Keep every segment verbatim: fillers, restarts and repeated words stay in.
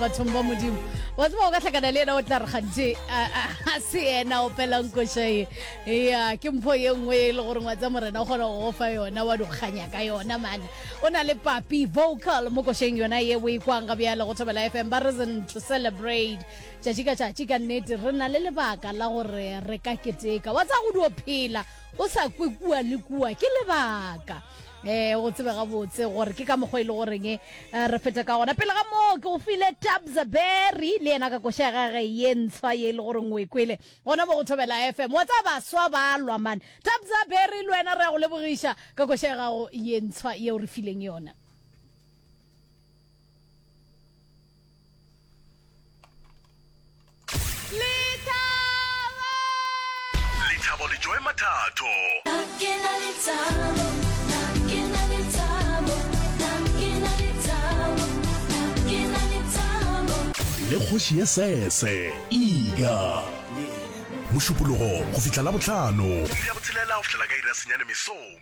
bathong ba modimo wa tseba o ka hlakana le yena o tla re gantše a se yena opelang koša ye ya ke mpho ye nngwe e le gore ngwa tsa morena o kgona go go fa yona wa dikganya ka yona mane o na le papi vocal mo košeng yona ye o e kwang ga bjale go thobela fm ba reason to celebrate tšatši ka tšatši ka nnete re na le lebaka la gore re ka keteka wa tsa go dio phela o sa kwe kua le kua ke lebaka um go tsebe gabotse gore ke ka mokgwa e le goreng eh, re feta ka gona pele ga moo ke go file tabza berry le yena ka koša ya gage ye ntshwa ye e le goreng o e kwele gona mo go thobela fm wa tsa baswa ba lwa mane tabza berry le wena re ya go lebogiša ka koša ya gago ye ntshwa yeo re fileng yona Lethabo! Lethabo le Joy Mathatho. Le kgoši ya sese, Iga. Mošupologo go fihla Labohlano. Iri ya botshelela go fihlela ka iri ya senyane mesong.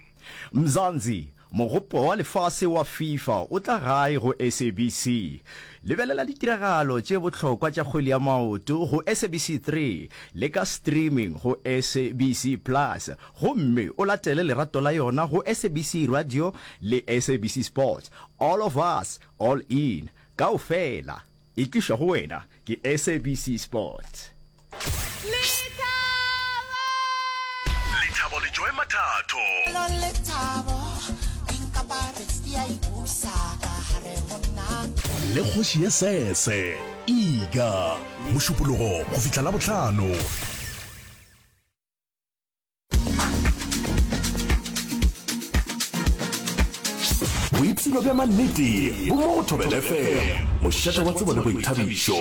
Mzansi, Mogopo wa Lefase wa FIFA o tla gae go SABC. Lebelela ditiragalo tše bohlokwa tša kgwele ya maoto go SABC three le ka streaming go SABC Plus gomme o latele lerato la yona go SABC Radio le SABC Sports. All of us, all in. Kaofela e tlišwa go wena ke SABC Sports. Lethabo! Lethabo le Joy Mathatho. Le kgoši ya sese, Iga, Mošupologo go fihla Labohlano. Boipshino bja mannete bo mo go Thobela FM, mošate wa tsebo le boithabišo.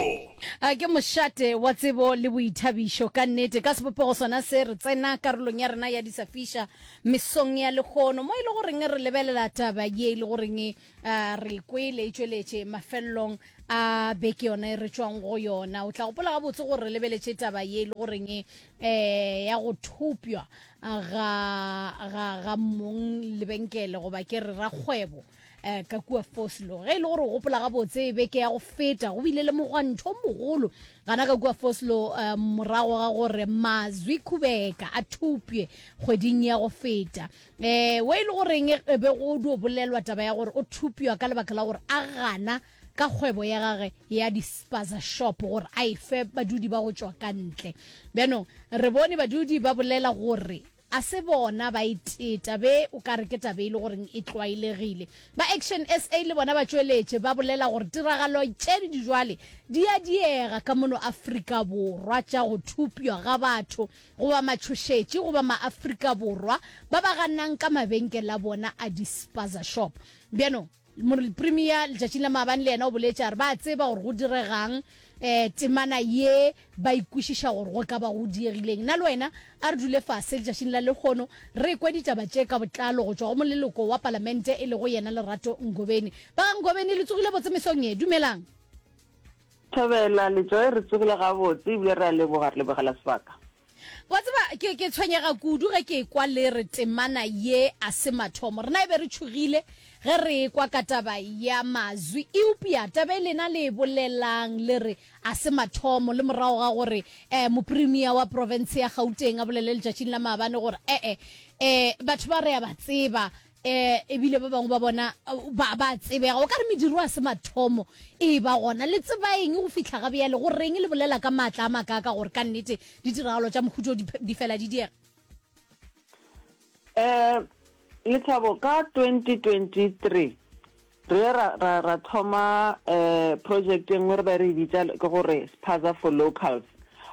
A ke mošate wa tsebo le boithabišo ka nnete. Ka sebopego sona se, re tsena karolong ya rena ya Di sa Fiša mesong ya lehono, mo e le goreng re lebelela taba ye e le goreng re e kwele e tšweletše mafelelong a beke yona e re tšwang go yona. O tla gopola gabotse gore re lebeletše taba ye e le goreng eh ya go thopjwa ga ga ga mong lebenkele goba ke re rakgwebo eh ka kua Foslo ge e le gore o gopola gabotse beke ya go feta go bile le mogwantho o mogolo gana ka kua Foslo eh, morago ga gore Mazwi Khubeka a thopje kgweding ya go feta eh we e le goreng e be go dio bolelwa taba ya gore o thopjwa ka lebaka la gore a gana ka kgwebo ya gage ya di-spaza shop gore a e fe badudi ba go tšwa ka ntle. Bjanong re bone badudi ba bolela gore a se bona ba e teta be o ka re ke taba e le goreng e tlwaelegile. Ba Action SA le bona ba tšweletše ba bolela gore tiragalo tše di jwale di a diega ka mono Afrika Borwa tša go thupjwa ga batho goba matšhošetši goba ma-Afrika Borwa ba ba ganang ka mabenkele a bona a di-spaza shop. Bjanong Mopremier letšatšing la maabane le yena o boletše a re ba a tseba gore go diregang um temana ye ba ikwešiša gore go ka ba go diegileng. Nna le wena a re dule fase letšatšing la lehono re kwe ditaba tše ka botlalo go tšwa go moleloko wa palamente e lego yena Lerato Ngobeni. Ba ga Ngobeni le tsogile botse mesong ye? Dumelang. Thobela, Letšoe, re tsogile gabotse ebile re a leboga, re lebogela sebaka. Wa tseba, ke, ke tshwenyega kudu ge ke ekwa le re temana ye a se mathomo. Rena e be re tšhogile ge re ekwa ka taba ya Mazwi, eupša taba e lena le e bolelang le re a se mathomo, le morago ga gore eh, mopremia wa profense ya Gauteng a bolele letšatšing la maabane gore ee, eh, batho ba re a ba tseba, eh, ebile ba bangwe ba bona ba, ba tsebega. O ka re mediro a se mathomo e ba gona. Le tseba eng go fihla ga bjale? Go reng le bolela ka maatla a makaaka gore ka nnete ditiragalo tša mohuto di, di fela di diega? Eh, Lethabo, ka twenty twenty-three re ye ra, ra, ra thoma eh, project e nngwe re be re e bitša ke gore Spaza for Locals.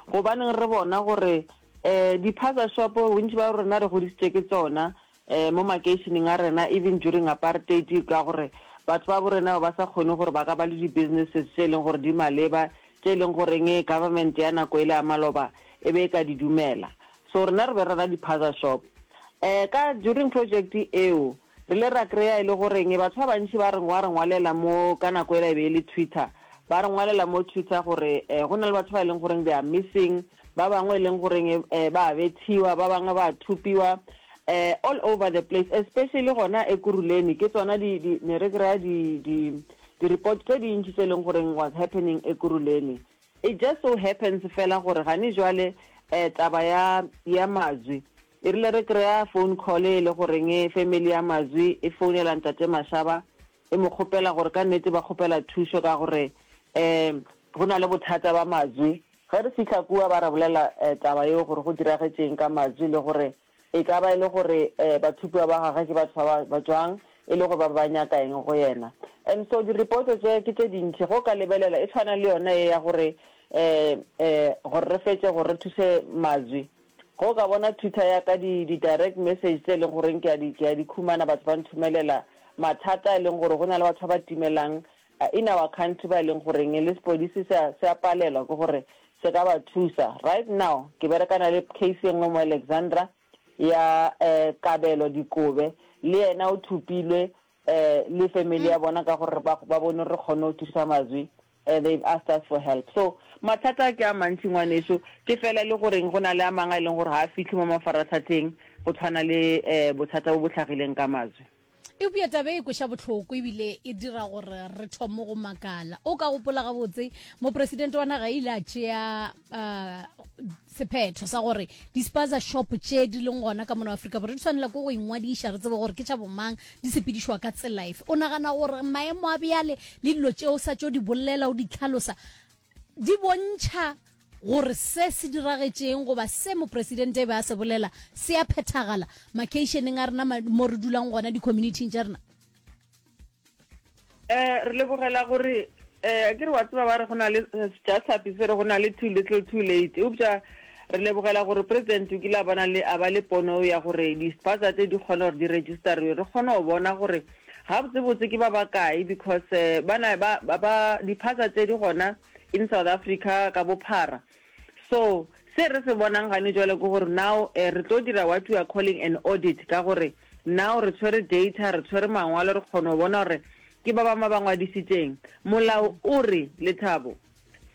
Gobaneng re bona gore eh, di-spaza shop bontši ba rena re godisitše ke tsona eh, mo makeišeneng a rena, even during apartheid, ka gore batho ba bo rena ba sa kgone gore ba ka ba le di-businesses tše e leng gore di maleba, tše e leng goreng government ya nako ele ya maloba e be e ka di dumela. So rena re be re rera di-spaza shop. Eh, ka during project eo re ile ra kry-a e le goreng batho ba bantši ba re ba re ngwalela mo, ka nako ela e be e le Twitter, ba re ngwalela mo Twitter gore eh, go na le batho ba e leng goreng they are missing, ba bangwe e leng goreng eh, ba bethiwa, ba bangwe ba thupiwa, eh, all over the place, especially gona Ekurhuleni. Ke tsona di, di, ne re kry-a di, di, Di-report tse dintši tse leng goreng was happening Ekurhuleni. It just so happens fela gore gane jwale um taba ya ya Mazwi e rile re kry-a phone call e le goreng family ya Mazwi e founela ntate Mashaba e mo kgopela gore ka nnete ba kgopela thušo ka gore um go na le bothata ba Mazwi. Ge re fihla kua ba re bolela um taba yeo gore go diragetšeng ka Mazwi le gore e ka ba e le gore um bathupiwa ba gagwe ke batho ba ba jwang e le gore ba ba nyaka eng go yena. And so di-report tše ke tše dintši go ka lebelela e tshwana le yona e ya gore um um gore re fetše gore re thuse Mazwi. Go ka bona Twitter ya ka di di-direct message tse e leng goreng ke a di ke a di khumana batho ba nthomelela mathata e leng gore go na le batho ba ba timelang in our country ba e leng goreng le sepodisi se a se a palelwa ke gore se ka ba thusa. Right now ke berekana le case e nngwe mo Alexandra ya um Kabelo Dikobe le yena o thupilwe um le family ya bona ka gore ba ba bone re kgone go thusa Mazwi uh, they've asked us for help. So mathata ke a mantši ngwaneso ke fela le goreng go na le a mangwe a e leng gore ga a fitlhe mo mafaratlhatlheng go tshwana le um bothata bo bo tlhagileng ka Mazwi. Eupša taba e kweša bohloko ebile e dira gore re thome go makala. O ka gopola gabotse mopresidente wa naga ile a tšea uh, sephetho sa gore di-spaza shop tše di leng gona ka mono Afrika Borwa di tshwanela ke go ingwadiša re tsebe gore ke tša bomang di sepedišwa ka tsela efe. O nagana gore maemo a bjale le dilo tšeo sa tšo di bolela o di tlhalosa di bontšha gore se se diragetšeng goba se mopresidente e be a se bolela se a phethagala makeišeneng a rena mo re dulang gona di-communityng tša rena? Um re lebogela gore um ke re wa tseba ba re go na le sejatlhapi se re go na le too little too late, eupša re lebogela gore president o kile a bona le a ba le pono ya gore di-spaza tse di kgone gore di registeriwe re kgone go bona gore gabotsebotse ke ba bakae because uh, bana ba ba diphaza tse di gona in South Africa ka bophara. So se re se bonang gane jwale ke gore now eh, re tlo dira what we are calling an audit ka gore now re tshwere data re tshwere mangwalo re kgone go bona gore ke ba bangwe ba ngwadisitseng. Molao o re Lethabo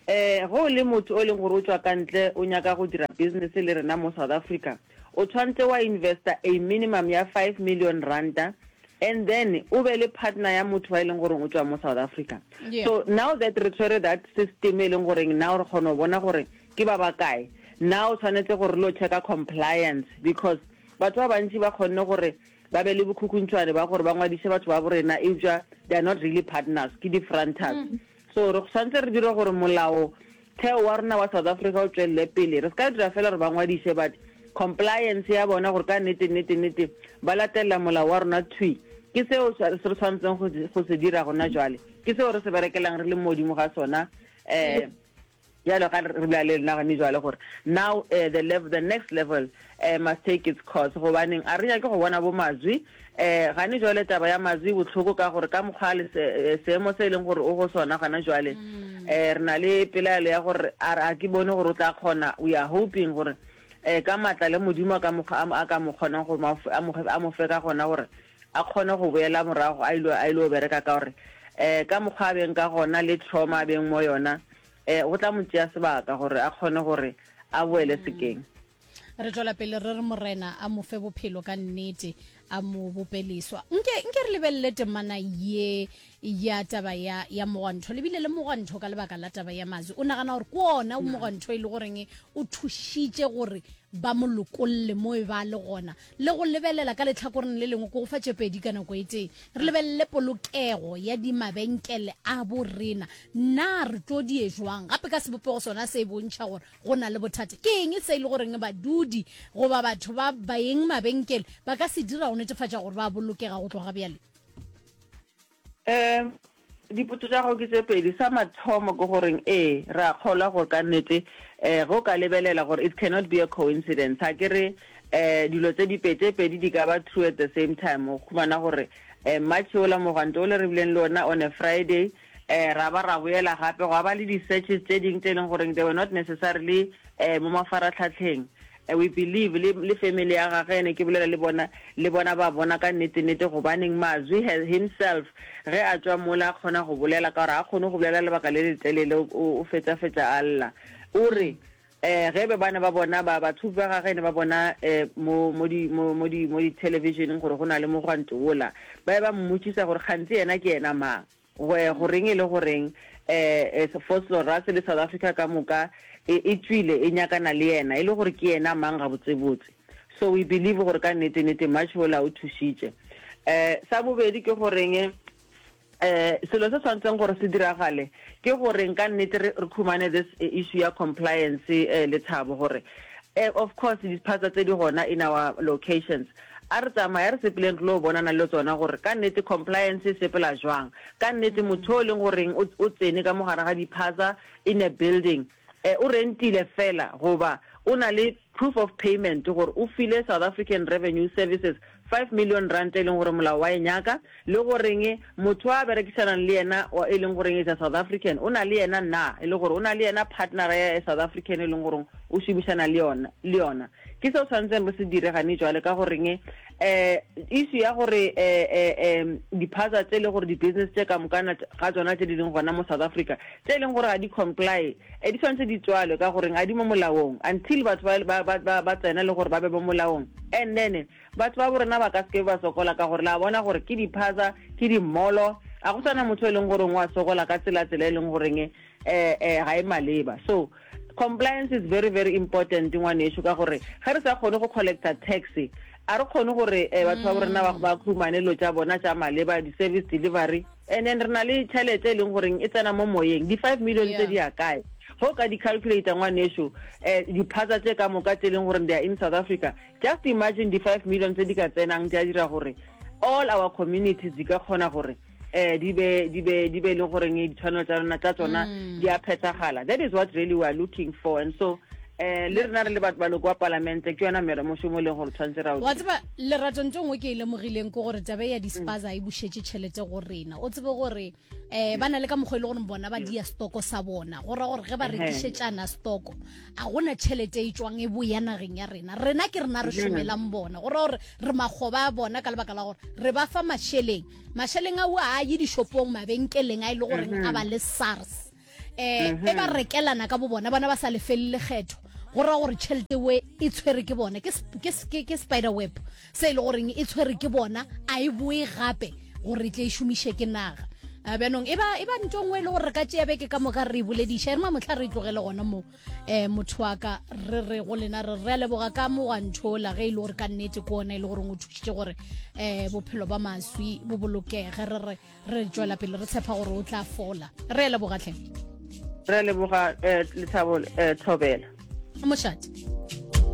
eh go le motho o leng gore o tswa ka ntle o nyaka go dira business le rena mo South Africa o tshwanetse wa investa a minimum ya five million ranta and then o be le partner ya motho wa e leng gore o tswa mo South Africa. Yeah. So now that re tshwere that system e leng goreng now re kgone go bona gore ke ba ba kae, now tshwanetse gore re lo checka compliance because batho ba bantši ba kgonne gore ba be le bokhukhuntshwane ba gore ba ngwadise batho ba borena eupša they are not really partners, ke di-fronters. Mm. So re tshwanetse re dire gore molao theo wa rona wa South Africa o tswelele pele re se ka dira fela gore ba ngwadise but compliance ya bona gore ka nnete nnete nnete ba latelela molao wa rona thwi ke seo se re tshwanetseng go se dira gona jwale ke seo re se berekelang re le modimo ga sona um jalo ga re bula le lena gane jwale gore now uh, the level the next level uh, must take its course gobaneng a re nyake go bona bo Mazwi um gane jwale taba ya Mazwi botlhoko ka gore ka mokgwa le seemo se e leng gore o go sona gana jwale um re na le pelaelo ya gore a ke bone gore o tla kgona we are hoping gore um ka maatla le modimo a ka mo kgonang gore a mo fe ka gona gore a kgone go boela morago a ile a ile go bereka ka gore um ka mokgwa a beng ka gona le trauma a beng mo yona um go tla mo tšea sebaka gore a kgone gore a boele sekeng. Re tswela pele re re morena a mo fe bophelo ka nnete a mo bopeleswa. Nke nke re lebelele temana ye ya taba ya ya mogwantho lebile le mogwantho ka lebaka la taba ya Mazwi. O nagana gore ke ona mogwantho e le goreng o thušitše gore ba mo lokolle mo e ba le gona le go lebelela ka letlhakoreng le lengwe ko go fa tše pedi ka nako e tee re lebelele polokego ya dimabenkele a borena na re tlo di e jwang gape ka sebopego sona se e bontšha gore go na le bothata ke eng se e le goreng badudi goba batho ba baeng mabenkele ba ka se dira go netefatša gore ba bolokega go tloga bjale? Um dipotso tša gago ke tse pedi. Sa mathomo ke goreng ee re a kgolwa gore ka nnete um ge o ka lebelela gore it cannot be a coincidence ga ke re um dilo tse dipe tse pedi di ka ba true at the same time. O khumana gore um March ola mogwanto ole re bileng le ona on a Friday um ra ba ra boela gape go ba le di-searches tse dingwe tse e leng goreng they were not necessarily um mo mafaratlhatlheng. We believe le le family ya gagwe ene ke bolela le bona le bona ba bona ka nnete nnete gobaneng Mazwi himself ge a tswa mola a kgona go bolela ka gore a kgone go bolela lebaka le letelele o fetsa fetsa a lla o re eh ge be bana ba bona ba bathupi ba gagwe ne ba bona eh mo mo di mo mo di mo di televisioneng gore go na le mogwanto ola ba ba mmotšisa gore gantsi yena ke yena mang. Goreng e le goreng um Vosloorus le South Africa ka moka e, e tšwile e nyakana le yena e le gore ke yena mang gabotsebotse. So we believe gore ka nnete nnete March ola o thušitše. Um sa bobedi ke goreng eh selo se tshwanetseng gore se diragale ke goreng ka nnete re re khumane this issue ya compliance eh, Lethabo, gore eh, of course diphatsa tse di gona in our locations, a re tsamaya re sepeleng re lo bonana le tsona gore ka nnete compliance e sepela jwang. Ka nnete motho o leng goreng o o tsene ka mogare ga diphatsa in a building, eh, o rentile fela goba o na le proof of payment gore o file South African Revenue Services five million rand e leng gore molao wa e nyaka, le goreng motho a berekisanang le yena e leng goreng is a South African, o na le yena na e le gore o na le yena partner ya South African e leng gore o šomišana le yona le yona. Ke se o tshwanetseng re se dire gane jwale, ka goreng eh issue ya gore eh um diphatsa tse le gore di-business tse ka mokana ga tsona tse di leng gona mo South Africa tse e leng gore ga di comply, eh di tshwanetse di tswalwe, ka goreng ga di mo molaong until batho ba ba ba tsena le gore ba be mo molaong. And then batho ba borena ba ka seke ba sokola, ka gore la bona gore ke diphatsa, ke di-mall-o, a go tshwana motho e leng goreng wa sokola ka tsela tsela e leng goreng eh eh ga e maleba. So compliance is very very important, ngwaneso, ka gore ge re sa kgone go collecta tax, a re kgone gore batho ba borena ba ba khumane lo tša bona tša maleba, di-service delivery. And then re na le tšhelete e leng goreng e tsena mo moyeng, di-five million tse di ya kae go ka di-calculator, ngwaneso? um diphatsa tse ka moka tse e leng gore they are in South Africa, just imagine di-five million tse di ka tsenang di a dira gore all our communities di ka kgona gore eh di be di be di be le goreng ditshwanelo tsa rona tsa tsona di a phethagala. That is what really we are looking for. And so eh le rena re le batho ba loko wa palamente, ke yona mere mošomo e leng gore tshwanetse ra o Wa tseba, Lerato, ntho nngwe ke e lemogileng ke gore tabe ya di-spaza e bušetše tšhelete go rena. O tsebe gore um ba na le ka mokgwa e le gore bona ba dia stoko sa bona, go ra gore ge ba rekišetšana stoko, a gona tšhelete e tswang e boya nageng ya rena. Rena ke rena re šomelang bona, go ra gore re makgoba a bona, ka lebaka la gore re ba fa mašeleng. Mašeleng ao a ye dishopong, mabenkeleng a e le goreng a ba le SARS, um e ba rekelana ka bo bona, bona ba sa lefele lekgetho. Go ra gore tšhelete we e tshwere ke bona, ke sp- ke ke- ke spider web se e le goreng e tshwere ke bona, a e boe gape gore e tle e šomiše ke naga. A bjanong e ba e ba ntho nngwe e le gore re ka tšea beke ka moka re e bolediša. E re mamotlha re e tlogele gona mo. um motho wa ka, re re go lena re re a leboga ka mogwantšhola ge e le gore ka nnete ke ona e le goreng o thušitše gore um bophelo ba maswi bo bolokege. Re re re tswela pele re tshepa gore o tla fola. Re a leboga tlhe. Re a leboga, eh, Lethabo, eh, thobela. Mošate.